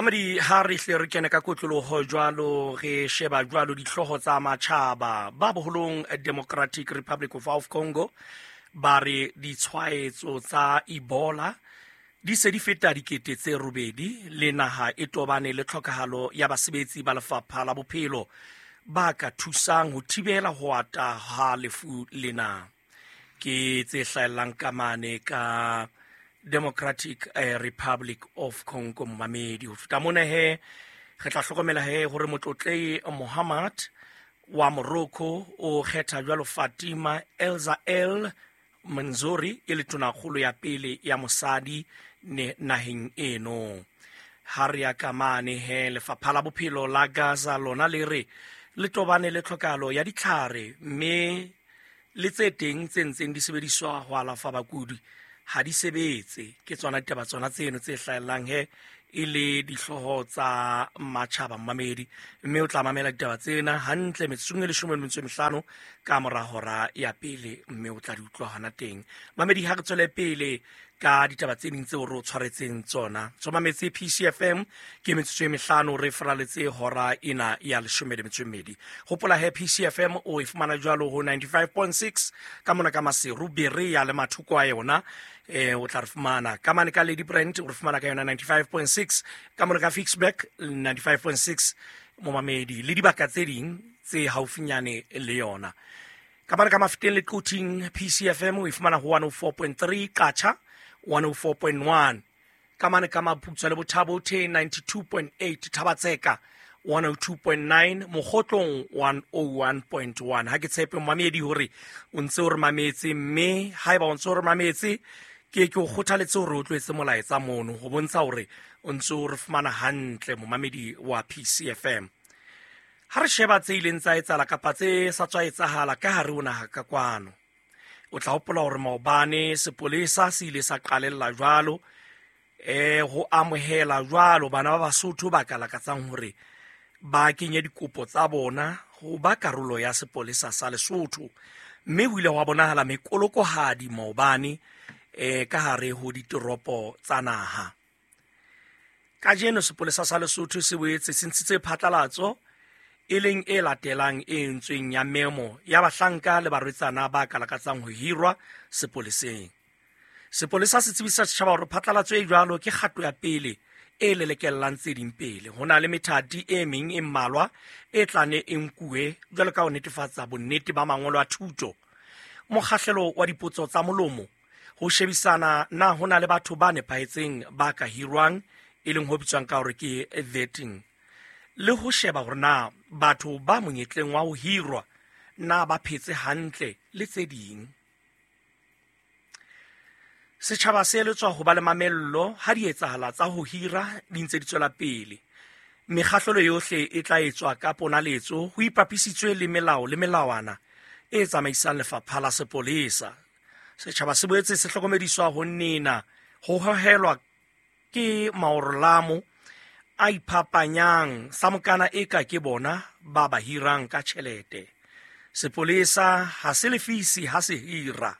Mamedi, ha re hle re kene ka kotloloho jwalo, re sheba jwalo dihlooho tsa matjhaba. Ba boholong Democratic Republic of Congo ba re ditshwaetso tsa Ebola di se di feta 8,000, le naha e tobane le tlhokahalo ya basebetsi ba lefapha la bophelo ba ka thusang ho thibela ho ata ha lefu lena. Ke tse hlahellang ka mane ka Democratic Republic of Congo. Momamedi, ho feta mona he re tla hlokomela he hore motlotlei Mohammad wa Morocco o kgetha jwalo Fatima Elza El Manzori e le tonakgolo ya pele ya mosadi naheng eno. Ha re ya ka mane he, lefapha la bophelo la Gaza lona le re le tobane le tlhokahalo ya ditlhare, mme le tse teng tse ntseng di sebediswa ho alafa bakudi ha di sebetse. Ke tsona ditaba tsona tseno tse hlahellang he e le dihlooho tsa matjhaba, mmamedi, mme o tla mamela ditaba tsena hantle metsotsong e 15 ka mora hora ya pele, mme o tla di utlwa hona teng. Mamedi, ha re tswele pele ka ditaba tse ding tseo re o tshwaretseng tsona. Tsomametse PCFM, ke metsotso e 5 re faraletse hora ena ya 12. Hopola he PCFM o e fumana jwalo ho 95.6 ka mona ka Maseru, Berea le mathoko a yona. O tla re fumana ka mane ka Lady Brand, o re fumana ka yona 95.6, ka mona ka Ficksburg 95.6, momamedi, le dibaka tse ding tse haufinyane le yona. Ka mane ka Mafeteng le Quthing, PCFM o e fumana ho 104.3, Qacha 104.1, ka mane ka Maputswa le Bothabo the 92.8, Thabatseka 102.9, Mokgotlong 101.1. Ha ke tshepe, momamedi, hore o ntse o re mametse, mme haeba o ntse o re mametse, ke o kgothaletse hore o tlo etse molaetsa mono ho bontsha hore o ntse o re fumana hantle, momamedi wa PCFM. Ha re sheba tse ileng tsa etsahala kapa tse sa tswa etsahala ka hare ho naha ka kwano, o tla hopola hore maobane sepolesa se ile sa qalella jwalo ho amohela jwalo bana ba Basotho ba ka lakatsang hore ba kenye dikopo tsa bona ho ba karolo ya sepolesa sa Lesotho, mme ho ile hwa bonahala mekolokohadi maobane ka hare ho ditoropo tsa naha. Kajeno sepolesa sa Lesotho se boetse se ntshitse phatlalatso e leng e latelang e entsweng ya memo ya bahlanka le barwetsana ba ka lakatsang ho hirwa sepoleseng. Sepolesa se tsebisa setjhaba hore phatlalatso e jwalo ke kgato ya pele e lelekellang tse ding pele. Ho na le methati e meng e mmalwa e tla ne e nkuwe jwalo ka ho netefatsa bonnete ba mangolo a thuto, mokgahlelo wa dipotso tsa molomo, ho shebisana na ho na le batho ba nepahetseng ba ka hirwang, e leng ho bitswang ka hore ke vetting, le ho sheba hore na batho ba monyetleng wa ho hirwa na ba phetse hantle le tse ding. Setjhaba se eletswa ho ba le mamello ha di etsahala tsa ho hira di ntse di tswela pele. Mekgahlelo yohle e tla etswa ka ponaletso ho ipapisitswe le melao le melawana e tsamaisang lefapha la sepolesa. Setjhaba se boetse se hlokomediswa ho nena ho hohelwa ke maorolamo a iphapanyang sa mokana e ka ke bona ba ba hirang ka tjhelete. Sepolesa ha se lefisi ha se hira.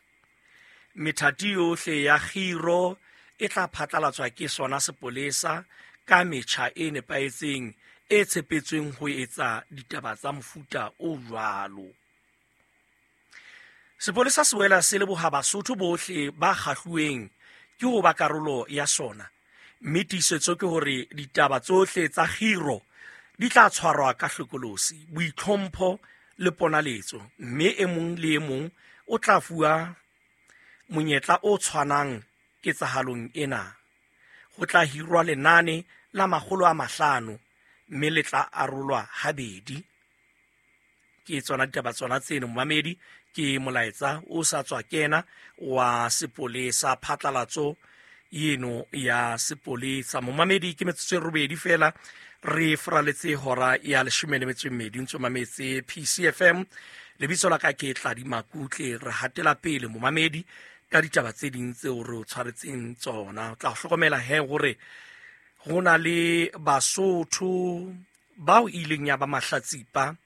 Methati yohle ya kgiro e tla phatlalatswa ke sona sepolesa ka metjha e nepahetseng e tshepetsweng ho etsa ditaba tsa mofuta o jwalo. Sepolesa se boela se leboha Basotho bohle ba kgahluweng ke ho ba karolo ya sona, mme tiisetso ke hore ditaba tsohle tsa kgiro di tla tshwarwa ka hlokolosi, boitlhompho le ponaletso, mme e mong le e mong o tla fuwa monyetla o tshwanang ketsahalong ena. Ho tla hirwa lenane la 500 mme le tla arolwa habedi. Ke tsona ditaba tsona tseno, momamedi, ke molaetsa o sa tswa kena wa sepolesa, phatlalatso eno ya sepolesa. Momamedi, ke metsotso e 8 fela re faraletse hora ya 12, ntse mametse PCFM. Lebitso la ka ke Tladi Makutle. Re hatela pele, momamedi, ka ditaba tse ding tseo re o tshwaretseng tsona. O tla hlokomela he hore ho na le Basotho bao ileng ya ba mahlatsipa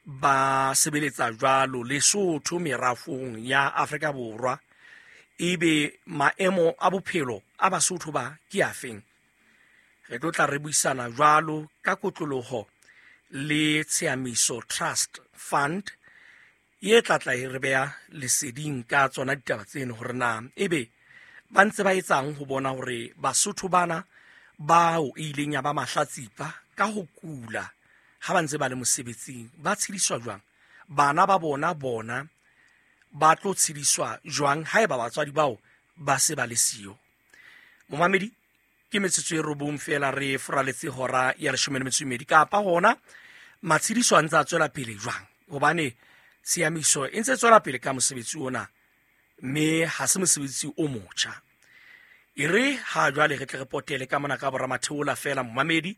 ba sebeletsa jwalo Lesotho merafong ya Afrika Borwa. Ebe maemo a bophelo a Basotho ba ke afeng? Re tlo tla re buisana jwalo ka kotloloho le Tshiamiso Trust Fund ye tla tla e re beha leseding ka tsona ditaba tseno hore na ebe ba ntse ba etsang ho bona hore Basotho bana bao e ileng ya ba mahlatsipa ka ho kula ha ba ntse ba le mosebetsing ba tshediswa jwang, bana ba bona bona ba tlo tshediswa jwang haeba batswadi bao ba se ba le siyo. Momamedi, ke metsotso e 9 fela re foraletse hora ya 12 kapa hona matshediso a ntse a tswela pele jwang, hobane tshiamiso e ntse tswela pele ka mosebetsi ona mme ha se mosebetsi o motjha. E re ha jwale re tle re potele ka mona ka boramatheola fela momamedi,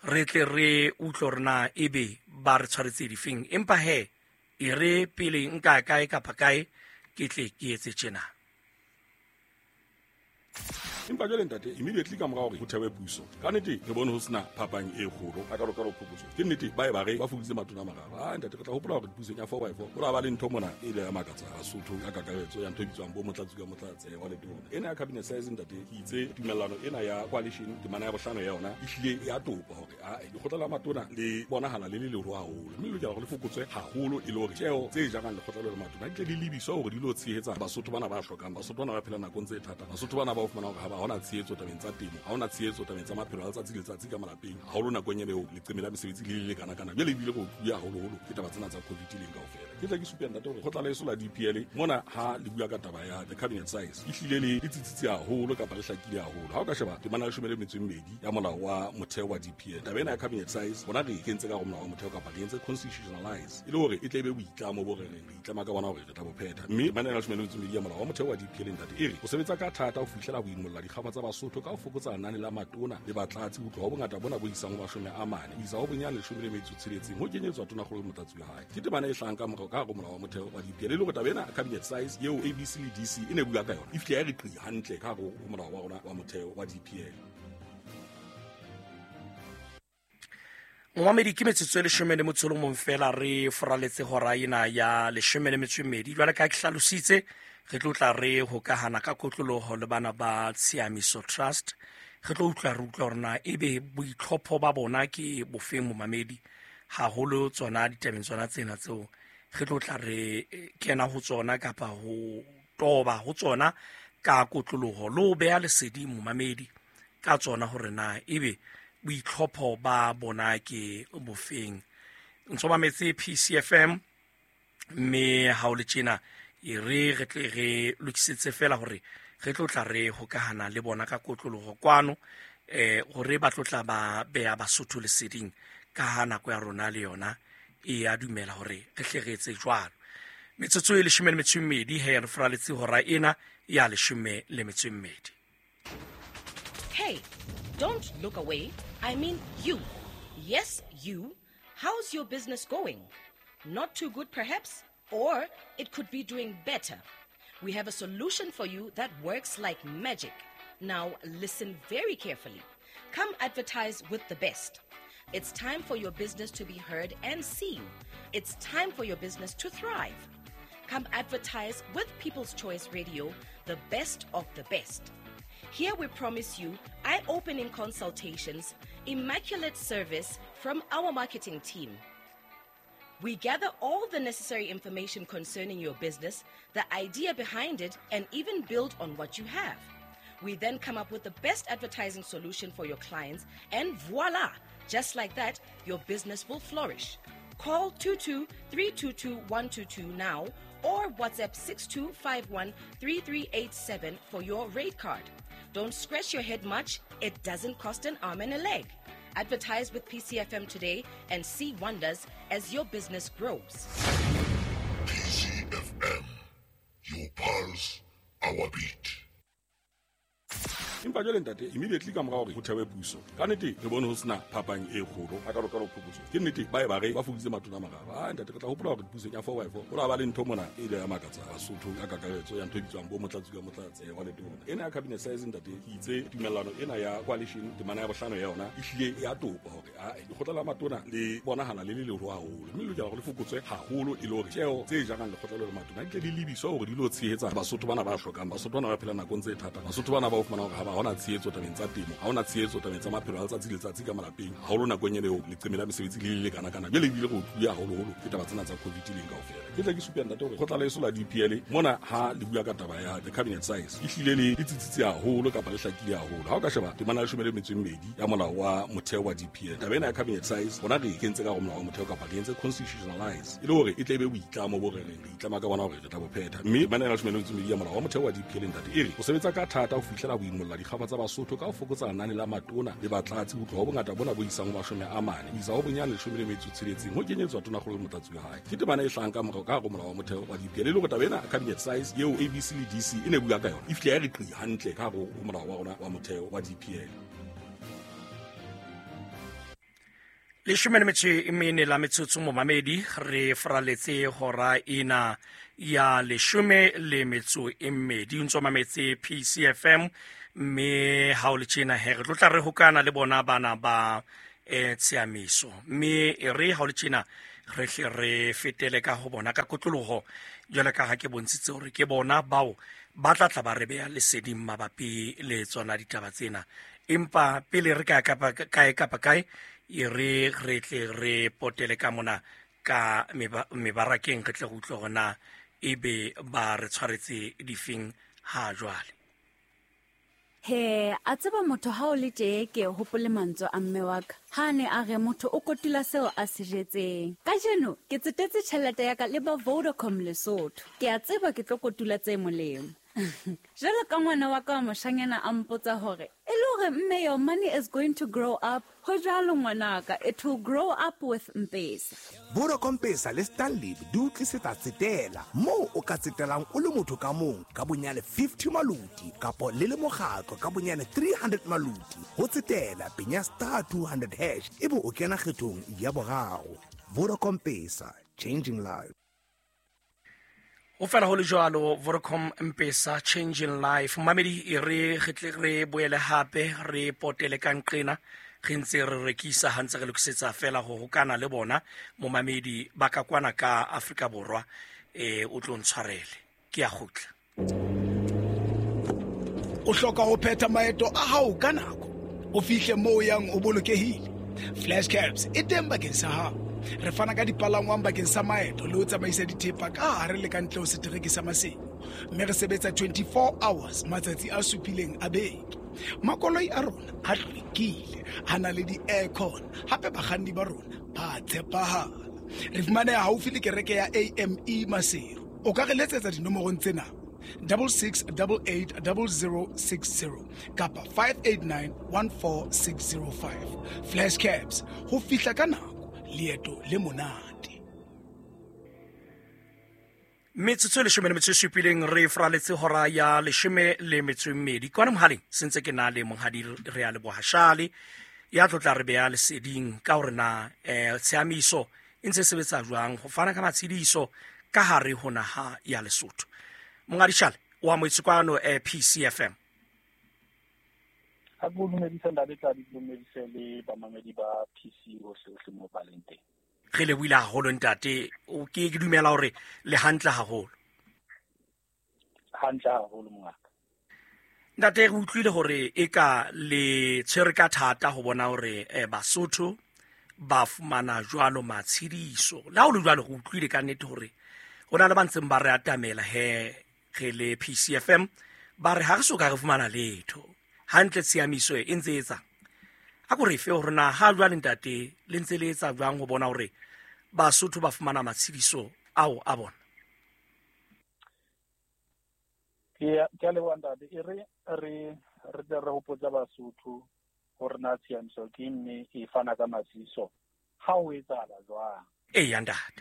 re tle re utlwe hore na ebe ba re tshwaretse difeng, empa he e re pele nka kae kapa kae ke tle ke etse tjena. Empa jwale ntate, immediately ka mora hore ho thewe puso, ka nnete re bone ho sena phapang e kgolo a ka phokotso. Ke nnete ba e ba re ba fokoditse matona a mararo. Ah ntate, re tla hopola hore pusong ya 4x4 ho la ba le ntho mona e ile ya makatsa Basotho ka kakaretso ya ntho e bitswang bo motlatsi ka motlatse wa letona. Ena ya cabinet size ntate, ke itse tumellano ena ya coalition temana ya bohlano ya yona e hlile ya topa hore a lekgotla la matona le bonahala le le leholo haholo, mme le lokela hore le fokotswe haholo e le hore tjeo tse jarang lekgotla le matona di tle di lebiswe hore di lo tshehetsa Basotho bana ba hlokang, Basotho bana ba phelang nakong tse thata, Basotho bana ba fumana hore ha ba hona tshehetso tabeng tsa temo, ha hona tshehetso tabeng tsa maphelo a letsatsi le letsatsi ka malapeng, haholo nakong ena eo leqeme la mesebetsi le le kana-kana. Jwale ebile go tluya haholoholo ke taba tsena tsa COVID leng kaofela. Ke tla ke supe ntate hore kgotla leso la DPL mona ha le bua ka taba ya the cabinet size e hlile le tsitsitse haholo kapa le hlakile haholo. Ha o ka sheba temana ya 12 ya molao wa motheo wa DPL, taba ena ya cabinet size bona re e kentse ka hare ho molao wa motheo kapa re entse constitutionalize e le hore e tle e be boitlamo bo re reng re itlama ka bona hore re tla bo phetha. Mme temana ya 12 ya molao wa motheo wa DPL ntate e re o sebetsa ka thata ho fihlela ho imolla dikgama tsa Basotho ka ho fokotsa lenane la matona le batlatsi ho tloha ho bongata bona bo isang ho 40 ho isa ho bonyane 16 ho kenyetswa tonakgolo le motlatsi wa hae. Ke temana e hlahang ka morao ka hare ho molao wa motheo wa DPL e le hore taba ena cabinet size eo ABC le DC e ne bua ka yona e fihle ya re qi hantle ka hare ho molao wa rona wa motheo wa DPL. Momamedi, ke metsotso e 11 fela re foraletse hora ena ya 12. Jwale ka ke hlalositse, re tlo tla re hokahana ka kotloloho le bana ba Tshiamiso Trust. Re tlo utlwa re utlwa hore na ebe boitlhopho ba bona ke bofeng momamedi, haholo tsona ditabeng tsona tsena tseo re tlo tla re kena ho tsona kapa ho toba ho tsona ka kotloloho le ho beha lesedi momamedi ka tsona hore na ebe boitlhopho ba bona ke bofeng. Ntso mametse PCFM mme ha o le tjena e re re tle re lokisetse fela hore re tlo tla re hokahana le bona ka kotloloho kwano, hore ba tlo tla ba beha Basotho leseding ka ha nako ya rona le yona e a dumela hore re hle re etse jwalo. Metsotso e 12 he re foraletse hora ena ya 12. Hey, don't look away. I mean you. Yes, you. How's your business going? Not too good, perhaps? Or it could be doing better. We have a solution for you that works like magic. Now, listen very carefully. Come advertise with the best. It's time for your business to be heard and seen. It's time for your business to thrive. Come advertise with People's Choice Radio, the best of the best. Here we promise you eye-opening consultations, immaculate service from our marketing team. We gather all the necessary information concerning your business, the idea behind it, and even build on what you have. We then come up with the best advertising solution for your clients, and voila! Just like that, your business will flourish. Call 22-322-122 now or WhatsApp 6251-3387 for your rate card. Don't scratch your head much. It doesn't cost an arm and a leg. Advertise with PCFM today and see wonders as your business grows. PCFM, your pulse, our beat. Empa jwale ntate, immediately ka mora hore ho thewe puso, ka nnete re bone ho sena phapang e kgolo a ka phokotso. Ke nnete ba e ba re ba fokoditse matona a mararo. Ah ntate, re tla hopola hore pusong ya 4x4 ho la ba le ntho mona e ile ya makatsa Basotho ka kakaretso ya ntho e bitswang bo motlatsi ka motlatse wa letona. Ena ya cabinet size ntate, ke itse tumellano ena ya coalition temana ya bohlano ya yona e hlile ya topa hore a lekgotla la matona le bonahala le le leholo haholo, mme le lokela hore le fokotswe haholo e le hore tjeo tse jarang lekgotla le matona di tle di lebiswe hore di lo tshehetsa Basotho bana ba hlokang, Basotho bana ba phelang nakong tse thata, Basotho bana ba fumana hore ha ba hona hona tshehetso tabeng tsa temo, ha hona tshehetso tabeng tsa maphelo a letsatsi le letsatsi ka malapeng, haholo nakong ena eo leqeme la mesebetsi le le kana-kana. Jwale ebile re utlwile haholoholo ke taba tsena tsa COVID leng kaofela. Ke tle ke supe ntate hore kgotla leso la DPL mona ha le bua ka taba ya the cabinet size e hlile le tsitsitse haholo kapa le hlakile haholo. Ha o ka sheba temana ya 12 ya molao wa motheo wa DPL, taba ena ya cabinet size rona re e kentse ka hare ho molao wa motheo kapa re entse constitutionalize e le hore e tle e be boitlamo bo re reng re itlama ka bona hore re tla bo phetha. Mme temana ya 12 ya molao wa motheo wa DPL ntate e re o sebetsa ka thata ho fihlela ho imolla dikgaba tsa Basotho ka ho fokotsa lenane la matona le batlatsi ho tloha ho bongata bona bo isang ho 40 ho isa ho bonyane 16 ho kenyetswa tonakgolo le motlatsi wa hae. Ke temana e hlahang ka morao ka hare ho molao wa motheo wa DPL e le hore taba ena cabinet size eo ABC le DC e ne bua ka yona e fihla ya re qi hantle ka hare ho molao wa rona wa motheo wa DPL. 14 la metsotso momamedi, re fraletse hora ena ya 12. O ntso mametse PCFM, mme ha o le tjena he re tlo tla re hokana le bona bana ba tshiamiso, mme e re ha o le tjena re hle re fetele ka ho bona ka kotloloho jwale ka ha ke bontshitse hore ke bona bao ba tla tla ba re beha leseding mabapi le tsona ditaba tsena. Empa pele re ka kapa kae kapa kae, e re re tle re potele ka mona ka mebarakeng, re tle re utlwe hore na ebe ba re tshwaretse difeng ha jwale. He, a tseba motho ha o le tje ke hopole mantswe a mme wa ka. Ha ne a re motho o kotula seo a se jetseng. Kajeno ke tsetetse tjhelete ya ka le ba Vodacom Lesotho. Ke a tseba ke tlo kotula tse molemo. Jwalo ka ngwana wa ka wa moshanyana a mpotsa hore e le hore mme your money is going to grow up. Ho jwalo ngwanaka, it will grow up with Mpesa. Vodacom Pesa le Stanlib di o tlisetsa tsetela moo o ka tsetelang o le motho ka mong ka bonyane 50 maluti kapo le le mokgatlo ka bonyane 300 maluti. Ho tsetela penya star 200 hash ebe o kena kgethong ya boraro. Vodacom Pesa, changing lives. O fela ho le jwalo, Vodacom M-Pesa changing life. Mamedi e re re tle re boele hape re potele ka nqena re ntse re rekisa ha ntse re lokisetsa fela ho hokana le bona momamedi ba ka kwana ka Afrika Borwa. O tlo ntshwarele, ke a kgutla. O hloka ho phetha maeto a hao ka nako, o fihle moo o yang o bolokehile. Flash Cabs e teng bakeng sa hao. Re fana ka dipalangwang bakeng sa maeto le ho tsamaisa dithepa ka hare le ka ntle ho setereke sa Maseru, mme re sebetsa 24 hours matsatsi a supileng a beke. Makoloi a rona a hlwekile, a na le di-aircon, hape bakganni ba rona ba tshepahala. Re fumaneha haufi le kereke ya AME Maseru. O ka re letsetsa dinomorong tsena 6688 0060 kapa 589 14605. Flash Cabs, ho fihla ka nako, leeto le monate. Metsotso e 17 re fraletse hora ya 12. Kwana mohaleng se ntse ke na le monghadi re a leboha Shale ya tlo tla re beha leseding ka hore na tshiamiso e ntse sebetsa jwang ho fana ka matshediso ka hare ho naha ya Lesotho. Monghadi Shale wa moetse kwano PCFM. Ha ke dumedisa ntate Tladi, ke dumedise le bamamedi ba PC hohle mo ba leng teng. Re lebohile haholo ntate, o ke ke dumela hore le hantle haholo. Hantle haholo mongaka. Ntate, re utlwile hore e ka le tshwere ka thata ho bona hore Basotho ba fumana jwalo matshediso. Le ha ho le jwalo, re utlwile ka nnete hore ho na le ba ntseng ba re atamela he re le PCFM, ba re ha re soka re fumana letho. Hantle tshiamiso e ntse etsang. A ko re fe hore na ha jwale ntate le ntse le etsa jwang ho bona hore Basotho ba fumana matshediso ao a bona? Ke a leboha ntate. E re re tle re hopotsa Basotho hore na tshiamiso ke mme e fana ka matshediso ha ho etsahala jwang. Eya ntate.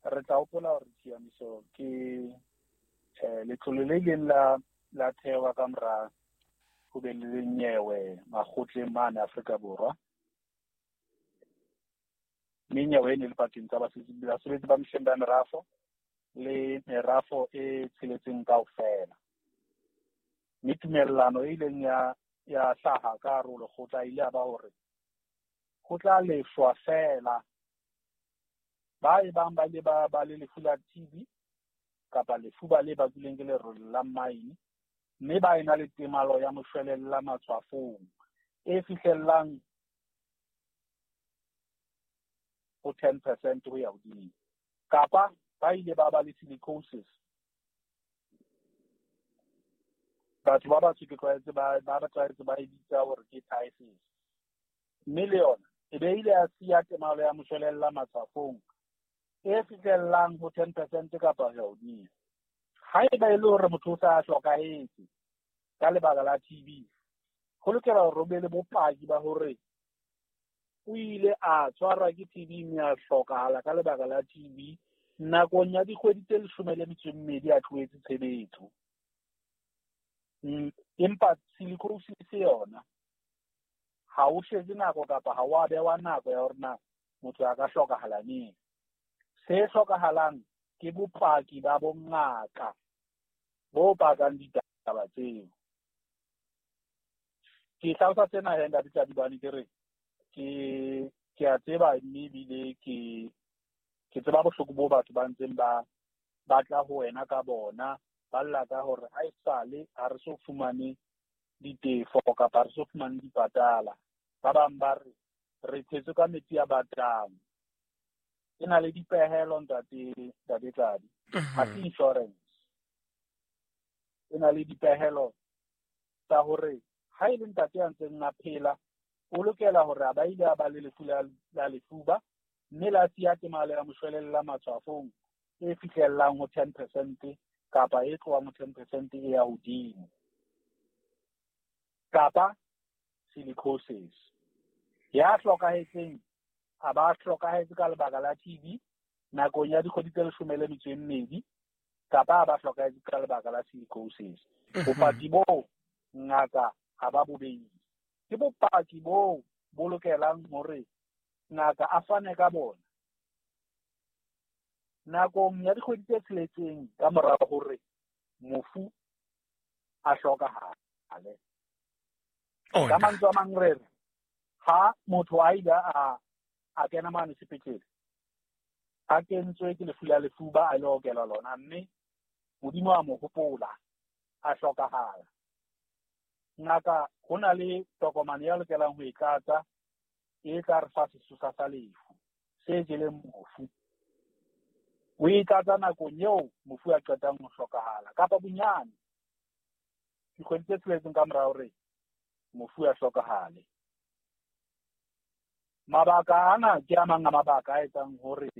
Re tla hopola hore tshiamiso ke letlole le ileng la thewa ka mora ho be le nyewe makgotleng mane Afrika Borwa. Mme nyewe e ne le pakeng tsa basebetsi ba mehleng ba merafo le merafo e tsheletseng kaofela. Mme tumellano e ileng ya hlaha ka hare ho lekgotla ile ya ba hore ho tla lefshwa feela ba e bang ba ile ba le lefu la TB kapa lefuba le bakilweng ke lerole la mine, Mme ba ena le temalo ya moshwelella matshwafong e fihlellang ho 10% ho ya hodimo. Kapa ba ile ba ba le silicosis. Batho ba batsho ke tlwaetse ba tlwaetse ba e bitsa hore ke phthisis. Mme le yona e be ile ya siya temalo ya moshwelella matshwafong e fihlellang ho 10% kapa ho ya hodimo. Haeba e le hore motho o sa hlokahetse ka lebaka la TB, ho lokela hore o be le bopaki ba hore o ile a tshwarwa ke TB mme a hlokahala ka lebaka la TB nakong ya dikgwedi tse 12 a tlohetse tshebetso. Empa silicosis yona ha o shebe nako kapa ha wa bewa nako ya hore na motho a ka hlokahala neng. Se hlokahalang ke bopaki ba bongaka bo pakang ditaba tseo. Ke hlalosa sena he ntate Tladibane ke re ke a tseba mme ebile ke tseba bohloko bo batho ba ntseng ba batla ho wena ka bona, ba lla ka hore ha esale ha re so fumane ditefo kapa re so fumane dipatala. Ba bang ba re re tshetswe ka metsi a batang. E na le dipehelo ntate Tladi. Ha se insurance. E na le dipehelo tsa hore ha e le ntate a ntseng a phela, o lokela hore a ba ile a ba le lefu la lefuba mme la siya temalo ya moshwelella matshwafong e fihlellang ho 10% kapa e tlohang ho 10% e ya hodimo. Kapa silicosis. Ya hlokahetseng a ba hlokahetse ka lebaka la TB nakong ya dikgwedi tse 12 kapa a ba hlokahetse ka lebaka la silicosis. Bopaki boo ngaka ha ba bobedi. Ke bopaki boo bo lokelang hore ngaka a fane ka bona nakong ya dikgwedi tse 6 ka mora hore mofu a hlokahale. Ka mantswe a mang re re ha motho a ile a kena mane sepetlele a kentswe ke lefu la lefuba a ile okelwa lona mme Modimo a mo hopola a hlokahala. Ngaka ho na le tokomane ya lokelang ho e tlatsa e tla re fa sesosa sa lefu se jeleng mofu. O e tlatsa nakong eo mofu a qetang ho hlokahala kapa bonyane dikgwedi tse 6 ka mora hore mofu a hlokahale. Mabaka ana ke a mang a mabaka a etsang hore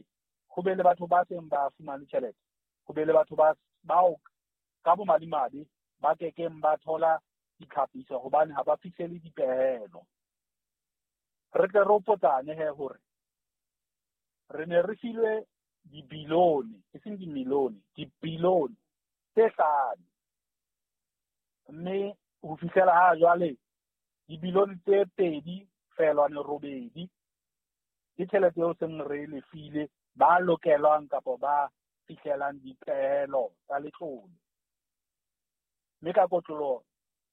ho be le batho ba seng ba fumane tjhelete, ho be le batho bao ka bomadimabe ba kekeng ba thola ditlhapiso hobane ha ba fihlele dipehelo. Re tle re hopotsane he hore re ne re filwe dibilione, e seng dimilione, dibilione tse 5. Mme ho fihlela ha jwale dibilione tse 2.8 ke tjhelete eo seng re lefile ba lokelwang kapa ba fihlelang dipehelo tsa letlole. Mme ka kotloloho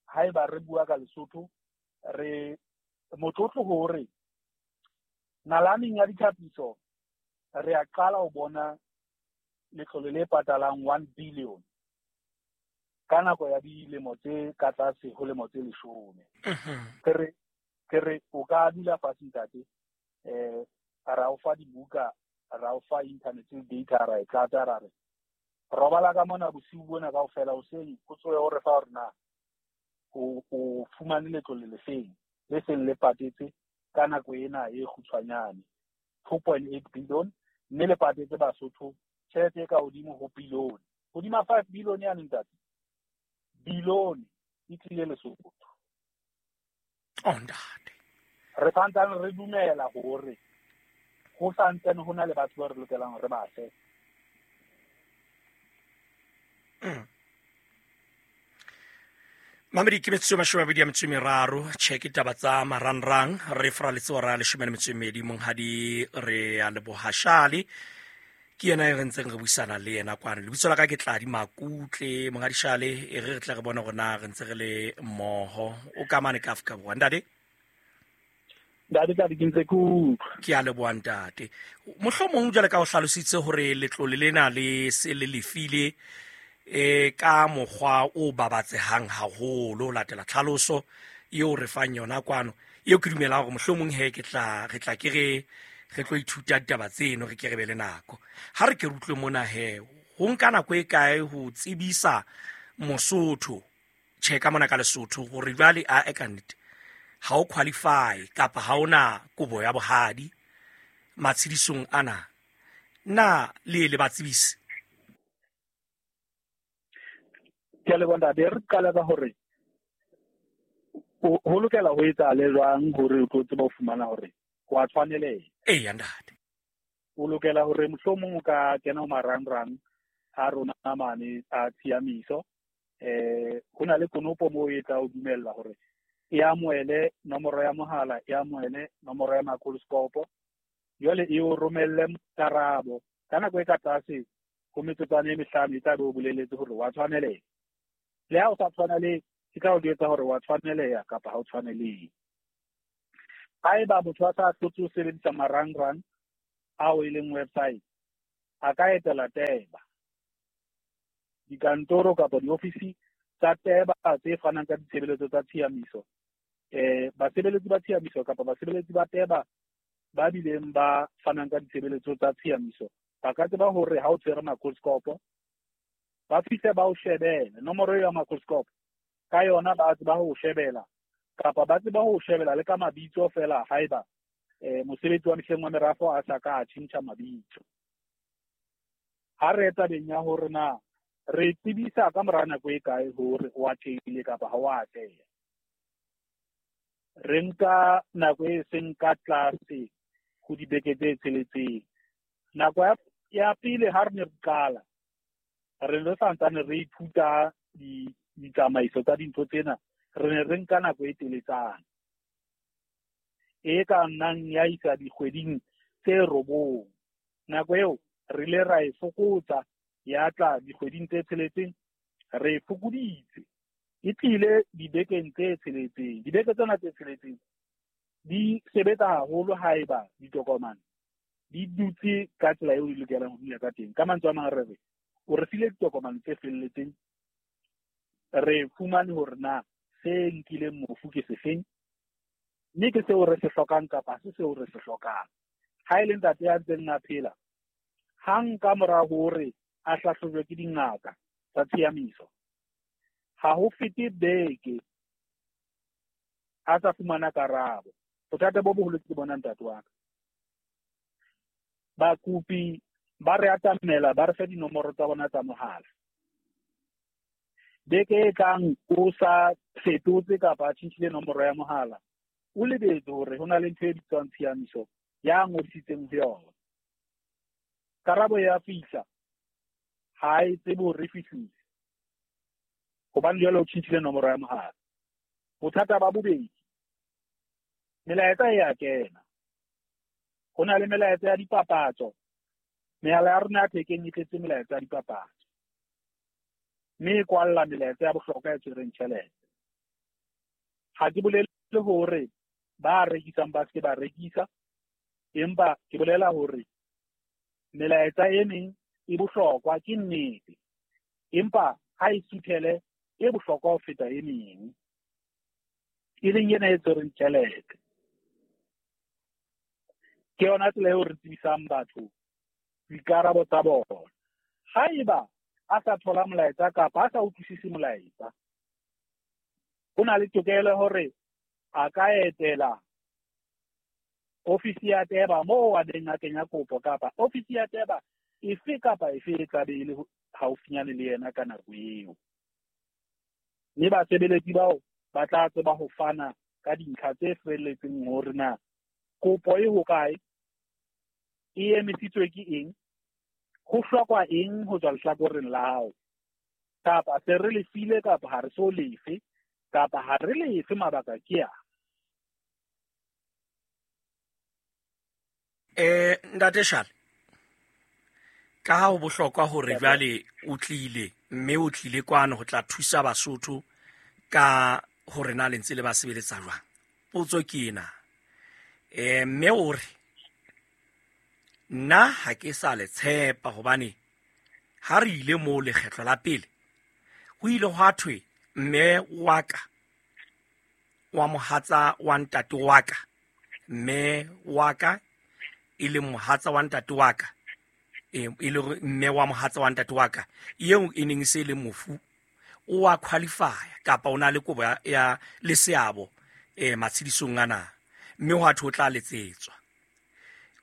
haeba re bua ka Lesotho re motlotlo hore nalaneng ya ditlhapiso re a qala ho bona letlole le patalang 1 billion ka nako ya dilemo tse ka tlase ho lemo tse 10. Ke re o ka dula fatshe ntate, ra o fa dibuka, ra o fa internet data, ra e tlatsa, ra re robala ka mona bosiu bona kaofela, hoseng o tsohe o re fa hore na o fumane letlole lefeng le seng le patetse ka nako ena e kgutshwanyane 2.8 billion, mme le patetse Basotho tjhelete e ka hodimo ho billion, hodima 5 billion ya ntate, billion e tlile Lesotho. Oh ntate, re santsane re dumela hore ho santsane ho na le batho ba re lokelang re ba fe. Mamedi ke metsotso 23 tjhe ke taba tsa marangrang re fraletse hora 12 monghadi re a leboha Shale ke yena e re ntseng re buisana le yena kwana. Lebitso la ka ke Tladi Makutle monghadi Shale, e re tle re bone hore na re ntse re le mmoho. O ka mane ka Afrika Borwa ntate? Ntate Tladi ke ntse ke utlwa. Ke a leboha ntate. Mohlomong jwale ka o hlalositse hore letlole lena le se le lefile Ka mokgwa o babatsehang haholo ho latela tlhaloso eo re fang yona kwano, eo ke dumelang hore mohlomong he ke tla re tla ke re re tlo ithuta ditaba tseno, re ke re be le nako. Ha re ke re utlwe mona he, ho nka nako e kae ho tsebisa Mosotho, tjhe ka mona ka Lesotho, hore jwale a e ka nnete ha o qualify kapa ha ona kobo ya bohadi matshedisong ana, na le le ba tsebise? Ke a leboha ntate. Re qala ka hore ho lokela ho etsahale jwang hore o tlo tseba ho fumana hore wa tshwaneleha? Eya ntate. O lokela hore mohlomong o ka kena ho marangrang a rona mane a tshiamiso. Ho na le konopo moo e tla o dumella hore e amohele nomoro ya mohala, e amohele nomoro ya makoloskopo, jwale e o romelle karabo ka nako e ka tlase ho metsotswana e mehlano, e tla be o boleletse hore wa tshwaneleha. Le ha o sa tshwanelehe, e tla o jwetsa hore wa tshwaneleha kapa ha o tshwanelehe. Haeba motho a sa hlotse ho sebedisa marangrang ao e leng website, a ka etela TEBA, dikantoro kapa diofisi tsa TEBA tse fanang ka ditshebeletso tsa tshiamiso. Basebeletsi ba tshiamiso kapa basebeletsi ba TEBA ba bileng ba fanang ka ditshebeletso tsa tshiamiso ba ka tseba hore ha o tshwere makoloskopo, ba fihle ba o shebele nomoro eo ya makoloskopo, ka yona ba tseba ho o shebela, kapa ba tseba ho o shebela le ka mabitso fela haeba mosebetsi wa mehleng wa merafo a sa ka a tjhentjha mabitso. Ha re tabeng ya hore na re tsebisa ka mora nako e kae hore o atlehile kapa ha o atleha, re nka nako e seng ka tlase ho dibeke tse tsheletseng. Nako ya pele ha re ne re qala, re ne re santsane re ithuta ditsamaiso tsa dintho tsena, re ne re nka nako e teletsana e ka nnang ya isa dikgweding tse 9. Nako eo re ile ra e fokotsa ya tla dikgweding tse tsheletseng, re e fokoditse, e tlile dibekeng tse tsheletseng. Dibeke tsena tse tsheletseng di sebetsa haholo haeba ditokomane di dutse ka tsela eo di lokelang ho dula ka teng. Ka mantswe a mang re re o re file ditokomane tse felletseng, re fumane hore na se nkileng mofu ke sefeng, mme ke seo re se hlokang kapa se seo re se hlokang. Ha e le ntate ya ntseng a phela, hang ka mora hore a hlahlojwe ke dingaka tsa tshiamiso, ha ho fete beke a sa fumana karabo. Bothata bo boholo ke bona ntate wa ka. Bakopi ba re atamela, ba re fe dinomoro tsa bona tsa mohala. Beke e tlang o sa fetotse kapa a tjhentjhile nomoro ya mohala, o lebetse hore ho na le ntho e bitswang tshiamiso ya ngodisitseng ho yona. Karabo ya fihla, ha e tsebe hore e fihlile, hobane jwale o tjhentjhile nomoro ya mohala. Bothata ba bobedi, melaetsa e a kena. Ho na le melaetsa ya dipapatso. Mehala ya rona ya thekeng e tletse melaetsa ya dipapatso, mme e kwalla melaetsa ya bohlokwa e tshwereng tjhelete. Ha ke bolele hore ba rekisang ba se ba rekisa, empa ke bolela hore melaetsa e meng e bohlokwa, ke nnete, empa ha e suthele e bohlokwa ho feta e meng, e leng ena e tshwereng tjhelete. Ke yona tsela eo re tsebisang batho dikarabo tsa bona. Haeba a sa thola molaetsa kapa a sa utlwisise molaetsa, ho na le tokelo hore a ka etela ofisi ya TEBA moo a neng a kenya kopo, kapa ofisi ya TEBA efe kapa efe e tla be e le haufinyane le yena ka nako eo. Mme basebeletsi bao ba tla tseba ho fana ka dintlha tse felletseng hore na kopo e hokae, e emisitswe ke eng, ho hlokwa eng ho tswa lehlakoreng la hao, kapa se re lefile kapa ha re so lefe, kapa ha re lefe mabaka ke a. Ntate Shale, ka ha ho bohlokwa hore jwale o tlile, mme o tlile kwano ho tla thusa Basotho ka hore na le ntse le ba sebeletsa jwang. Potso ke ena. Mme o re nna ha ke sa le tshepa, hobane ha re ile moo lekgetlo la pele Ho ile hwa thwe mme wa ka wa mohatsa wa ntate wa ka, mme wa ka e leng mohatsa wa ntate wa ka, e le mme wa mohatsa wa ntate wa ka eo e neng se le mofu, o wa qualify kapa o na le kobo ya le seabo matshedisong ana, mme hwa thwe o tla letsetswa.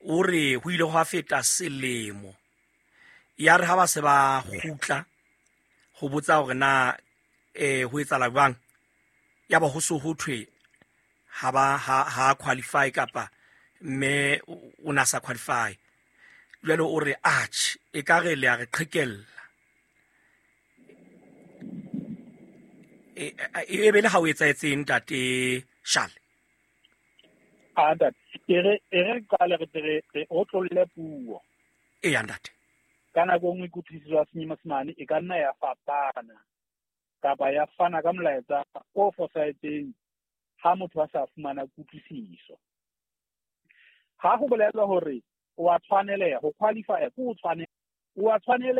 O re ho ile hwa feta selemo, ya re ha ba se ba kgutla ho botsa hore na ho etsahala jwang, ya ba ho so ho thwe ha ba ha qualify kapa mme o na sa qualify. Jwale o re atjhe, e ka re le a re qhekella. E be le ha o etsahetseng ntate Shale? A ntate, e re qale re re otlolle puo. Eya ntate. Ka nako e nngwe kutlwisiso ya Senyesemane e ka nna ya fapana kapa ya fana ka molaetsa o fosahetseng ha motho a sa fumana kutlwisiso. Ha ho bolelwa hore o a tshwaneleha, ho qualify ke o tshwanela, o a tshwaneleha.